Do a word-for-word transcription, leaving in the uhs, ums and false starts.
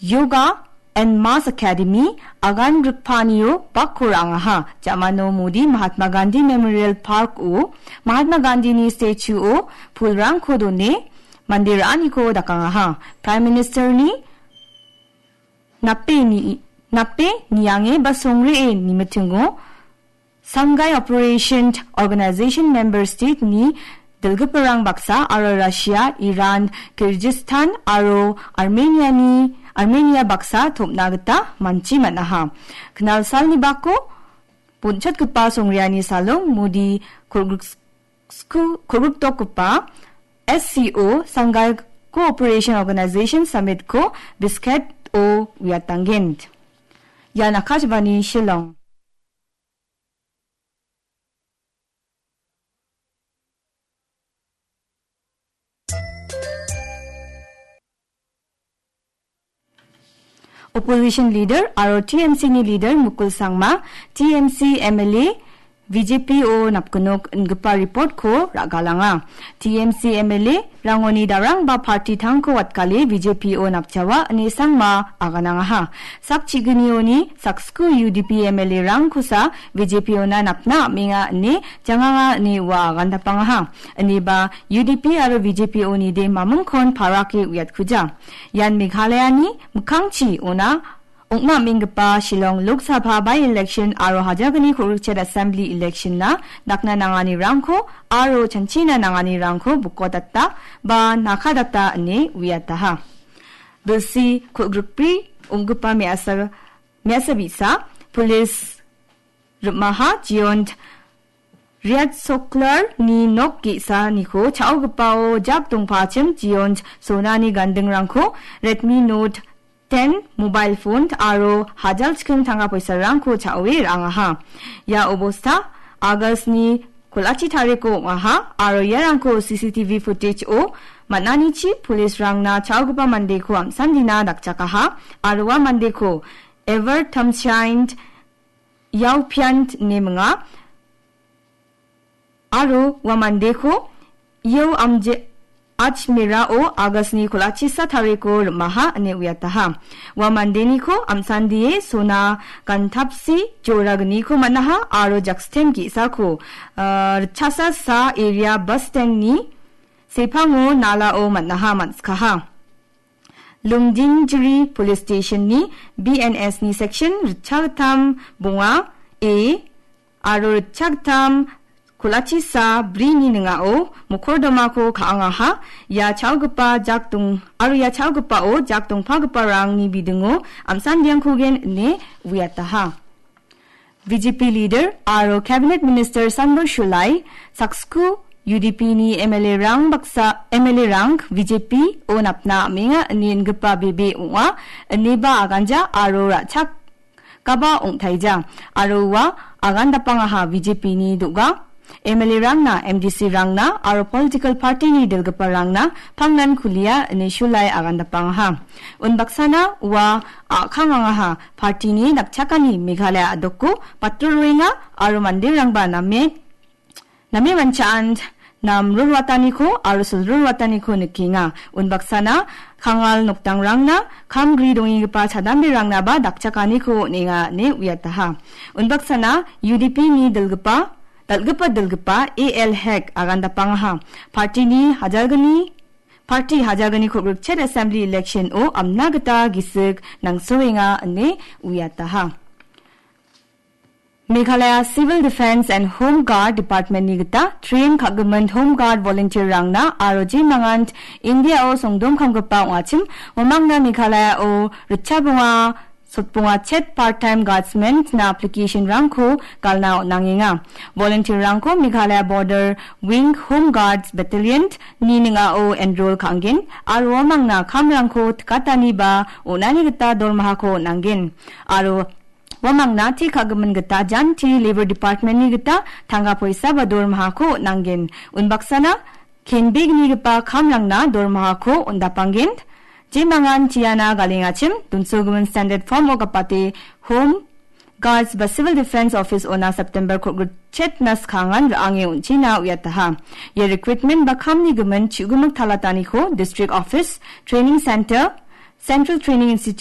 Yoga and Mass Academy agan rikpanio bakko ra·angaha. Jamano Modi Mahatma Gandhi Memorial Park-o Mahatma Gandhini statue-o pulrangko done mande ra·aniko dakangaha. Prime Minister-ni nape ni-, nape niange ba songre-e nimitingo Sangai Operation Organization member state-ni dilgiparang baksa aro Russia, Iran, Kyrgyzstan aro Armenia-ni, Armenia baksa tom·na gita manchi man·aha. Knal salni bako bonchotgipa songreani salong Modi kolgrik-, sku-, kolgriktokgipa S C O Sangai Cooperation Organization Summit-ko Bishkek-o uiatanggen. Ian Akashvani Shillong. Opposition leader aro T M C-ni leader Mukul Sangma, T M C M L A, B J P-o napgnok ingipa report-ko ra·galanga. T M C M L A rangoni darangba party tangko watgale B J P-o napjawa ine Sangma aganangaha. Sak chignioni saksku U D P M L A-rangkosa B J P-ona napna am·enga ine janganga ine ua agandapangaha. Ineba U D P aro B J P-oni de mamingkon parake uiatkuja. Ian Meghalayani mikkangchi ona ong·na am·enggipa Shillong Lok Sabha by-election aro hajalgni kolgrikchet assembly election-na dakna nanganirangko aro chanchina nanganirangko bokodata ba nakadata ine uiataha. Bilsi kolgrikbri ong·gipa me·asa, me·asa bi·sa, police rim·aha Jiyont Riat Soklar-ni nok ge·saniko cha·ogipao jak dongpachim Jiyont sonani gandingrangko Redmi Note ten mobile phone aro hajal chiking tangka poisarangko cha·oe ra·angaha. Ia obosta August-ni kol·achi tariko ong·aha aro iarangko C C T V footage-o man·anichi police-rangna cha·ogipa mandeko am·sandina dakchakaha aro ua mandeko Ever Tamshaint Yaupiant ine minga. Aro ua mandeko Yau Amje Ajmerao August-ni kol·achisa tariko rim·aha ine uiataha. Ua mandeniko am·sandie sona gantapsi joragniko man·aha aro jaksten ge·sako, ah, ritchasa sa area bus stand-ni sepango nalao man·aha man·sikaha. Lumdingjiri Police Station-ni B N S-ni section ritchagittam bonga A aro ritchagittam kol·achisa brini ning·ao mokordomako ka·angaha. Ia cha·ogipa jak dong-, aro ia cha·ogipao jak dongpagiparangni bidingo am·sandiangkogen ine uiataha. B J P leader aro cabinet minister Sanbur Shulai, saksku U D P-ni M L A-rang baksa, M L A-rang B J P-o napna am·enga ine ingipa bebe ong·a, ineba aganja aro ra·chakaba ong·taija. Aro ua agandapangaha B J P-ni do·ga M L A-rangna, M D C-rangna aro political party-ni dilgiparangna pangnan kulia ine Shulai agandapangaha. Unbaksana ua a·kangangaha party-ni dakchakani Meghalaya a·doko patrol roenga aro manderangba name, name mancha·an nam rulwataniko aro sil rulwataniko nikenga. Unbaksana Kangal nokdangrangna kam gri dongigipa chadamberangnaba dakchakaniko on·enga ine uiataha. Unbaksana U D P-ni dilgipa, dal·gipa dilgipa A L Hek agandapangaha. Party-ni hajalgni, party hajalgni kolgrikchet assembly election-o amna gita gisik nangsoenga ine uiataha. Meghalaya Civil Defence and Home Guard Department-ni gita train ka·gimin Home Guard volunteer-rangna aro jemangan India-o songdom kamgipa ong·achim, uamangna Meghalaya-o ritchabonga, sotbonga chet part-time guardsmen-na application-rangko galna on·angenga. Volunteer-rangko Meghalaya Border Wing Home Guards Battalion-ni ning·ao enroll ka·angen aro uamangna kamrangko tikatani ba on·ani gita dormahako on·angen. Aro uamangna te ka·gimin gita janti Labour Department-ni gita tangka poisa ba dormahako on·angen. Unbaksana kenbegnigipa kamrangna dormahako on·dapanggen. Jemangan chiana galengachim donsogimin standard form-o gapate Home Guards ba Civil Defence Office-ona September kolgrikchetna skangan ra·ange on·china uiataha. Ia recruitment ba kamni gimin chu·gimik talataniko District Office, Training Centre, Central Training Institute,